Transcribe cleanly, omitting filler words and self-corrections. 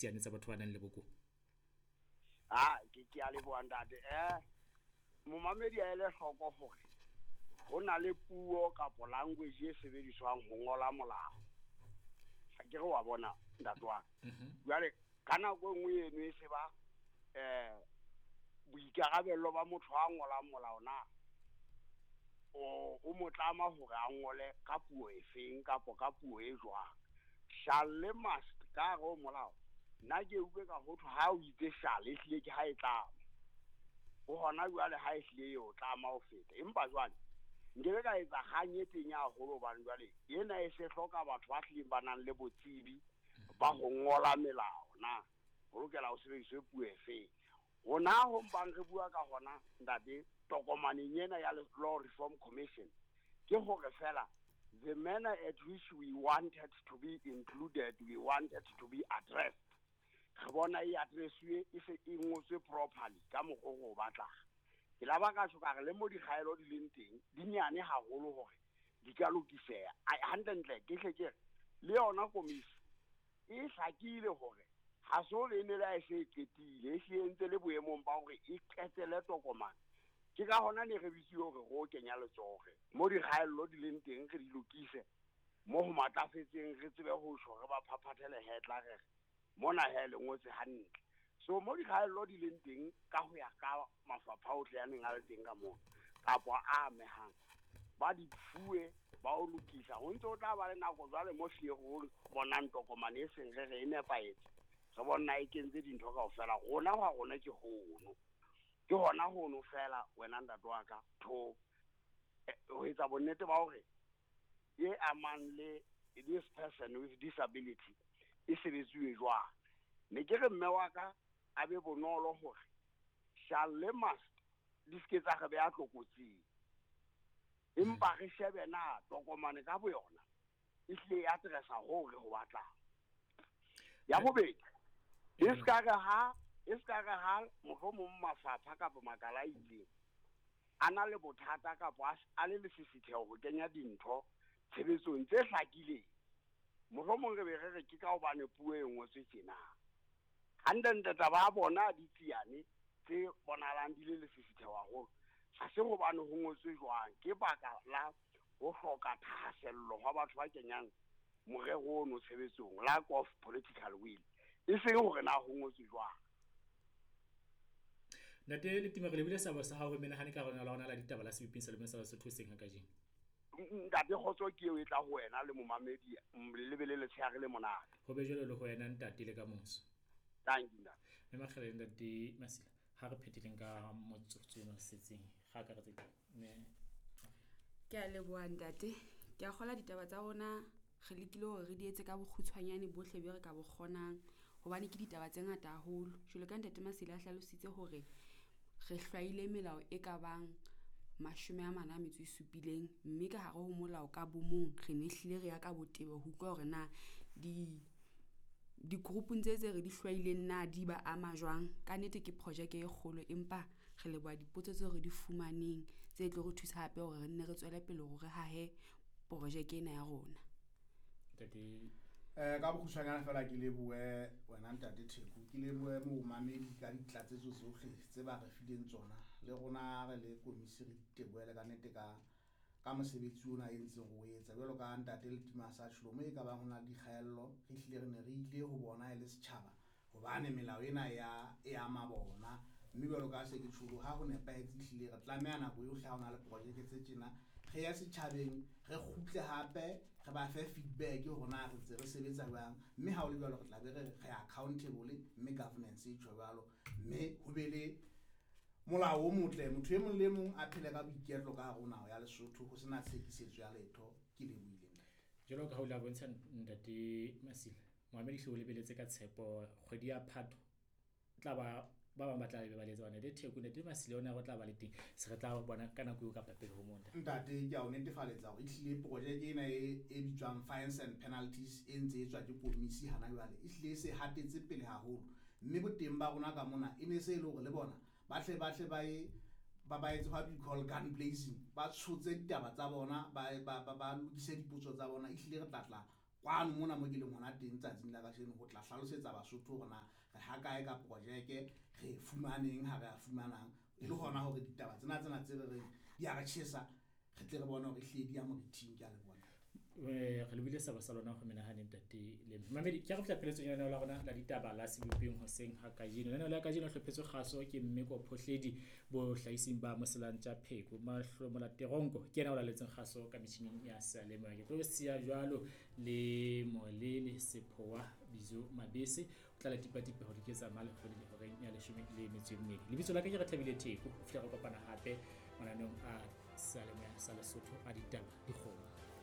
Tsiane tsa batho ba nang le bokowa. Ah, ke a leboha ntate. Momamedi a ele hloko hore ho na le puo kapo language e sebediswang ho ngola molao. Ha ke re wa bona ntate wa ka. Jwale ka nako e nngwe eno e se ba boikarabello ba motho a ngolang molao na o mo tlama hore a ngole ka puo e feng kapo ka puo e jwang. Shall le must ka hare ho molao, nna ke utlwe ka ho thwe ha o itse shall e hlile ke ha e tlama. Ho hona jwale ha e hlile e o tlama ho feta. Empa jwale nkebe ka etsa kgang e teng haholo hobane jwale ena e se hloka batho ba hlileng ba nang le botsebi ba ho ngola melao na ho lokela ho sebediswe puo e feng. Hona ho mpang re bua ka hona ntate tokomaneng ena ya Law Reform Commission ke hore fela the manner at which we wanted to be included, we wanted to be addressed. Re bona e addressiwe e se e ngotswe properly ka mokgwa o re o batlang. Ke la ba ka tjho ka re le mo dikgaelo di leng teng di nyane haholo hore di ka lokiseha. Hantlentle ke hle ke re le yona komisi e hlakile hore ha so le ne le a e se e qetile, e hlile e ntse le boemong ba hore e qetele tokomane. Ke ka hona ne re bitsiwe hore re o kenya letsoho mo dikgaello di leng teng re di lokise, mo ho matlafetseng re tsebe ho tjho re ba phaphathele hetla re re mona he le ngotse hantle. So mo dikgaello di leng teng ka ho ya ka mafapha ohle a neng a le teng ka moo kapa a amehang ba di fuwe ba o lokisa. Ho ntse ho tla ba le nako jwale mo hlile ho bonang tokomane e seng re re e nepahetse, re bona e kentse dintho kaofela. Rona hwa rona ke hono, ke hona hono fela wena ntate wa ka to ho etsa bonnete ba hore e amang le this person with disability e sebetsiwe jwang. Ne ke re mme wa ka a be bonolo hore shall le must di se ke tsa re beha tlokotsing, empa re shebe na tokomane ka boyona e hlile e addressa hoo re ho batlang. Ya bobedi, e ska re ha e ska re ha mohlomong mafapha kapa makala a itseng a na le bothata kapa a le lesisitheho ho kenya dintho tshebetsong tse hlakileng, mohlomong re be re re ke ka hobane puo e ngotswe tjena. Hantlentle taba ya bona ditsiane tse bonahalang di le lesisitheho haholo ha se hobane ho ngotswe jwang, ke baka la ho hloka thahasello hwa batho ba kenyang morero ono tshebetsong, lack of political will, e seng hore na ho ngotswe jwang. Ntate Letima, re lebile seabo sa hao re menahane ka rona la hona la ditaba la seboping sa lona sa Basotho hoseng ha kajeno. Ntate kgotso ke eo e tla ho wena le momamedi, le be le letshehare le monate. Ho be jwalo le ho wena ntate le ka moso. Thank you, ntate. Mme Makgele, ntate Masila, ha re phethileng ka motsotso ono setseng, ga akaretse mme Ke a leboha ntate. Ke a kgola ditaba tsa rona re lekile hore re di etse ka bokgutshwanyane bohle be re ka bo kgonang, hobane ke ditaba tse ngata haholo. Jwalo ka ntate Masila a hlalositse hore re hlwaile melao e ka bang 47, mme ka hare ho molao ka bomong re ne hlile re ya ka botebo ho utlwa hore na di-groupung tse tse re di hlwaileng na di ba ama jwang. Ka nnete ke projeke e kgolo, empa re leboha dipotso tseo re di fumaneng tse tlo re thusa hape hore re nne re tswele pele hore re hahe projeke ena ya rona. Ntate Ka bokgutshwanyane fela ke lebohe wena ntate Theko, ke lebohe momamedi ka ditlatsetso tsohle tse ba re fileng tsona. Le rona re le komisi re itebohele ka nnete ka mosebetsi ona e ntseng re o etsa. Jwalo ka ntate Letima sa tjholo, mo e ka bang ho na le dikgaello, re hlile re ne re ile ho bona e le setjhaba hobane melao ena e ama bona. Mme jwalo ka se ke tjholo, ha ho nepahetse ehlile re tlameha nako yohle ha ho na le projeke tse tjena re ye setjhabeng, re kgutle hape re ba fe feedback hore na re ntse re sebetsa jwang. Mme ha ho le jwalo re tla be re accountable, mme governance e tjho jwalo, mme ho be le molao o motle, motho e mong le mong a phele ka boiketlo ka hare ho naha ya Lesotho, ho sena tshekisetso ya letho. Ke lebohile ntate. Jwalo ka ha o ile a bontsha ntate Masila, moamedi hle o lebeletse ka tshepo kgwedi ya Phato tla ba ba bang ba tla be ba letse bana le Theko, ntate Masila ona o tla ba le teng, se re tla bona ka nako eo kapa pele ho moo, ntate. Ntate, ke a o netefaletsa hore ehlile projeke ena e bitswang Fines and Penalties e ntse e tswa ke komisi hana jwale, ehlile e se hatetse pele haholo, mme boteng ba rona ka mona e ne se e le hore le bona ba tle ba tle ba e ba ba etse what we call gun blazing, ba tshotse ditaba tsa bona, ba lokise dipotso tsa bona. Ehlile re tla tla Kwano mona mo ke leng hona teng tsatsing la kajeno ho tla hlalosetsa Basotho hore na re hakae ka projeke, re e fumaneng ha re a fumanang, e le hona hore ditaba tsena tsena tse re reng di a re tjhesa, re tle re bone hore ehlile di ya moriting. Ke a leboha. Re lebile saba sa lona ho menahane ntate le mamedi. Ke re fihla pheletsong ya lenaneo la rona la ditaba la sebopeng hoseng ha kajeno. Lenaneo la kajeno le hlophetswe kgaso ke Mmeko Phohledi bohlahising ba Moselantja Pheko. Mahlomola Teronko ke yena o laletseng kgaso ka metjhining ya seyalemoya. Ke tlo siya jwalo le Molele Sephowa Bizo Mabese o tla le tipatipa ho diketsa male kgwedi le horeng ya 12. Lebitso la ka ke re Thabile Theko. Ho fihla re kopana hape mananeong a seyalemoya sa Lesotho a ditaba dikgomo.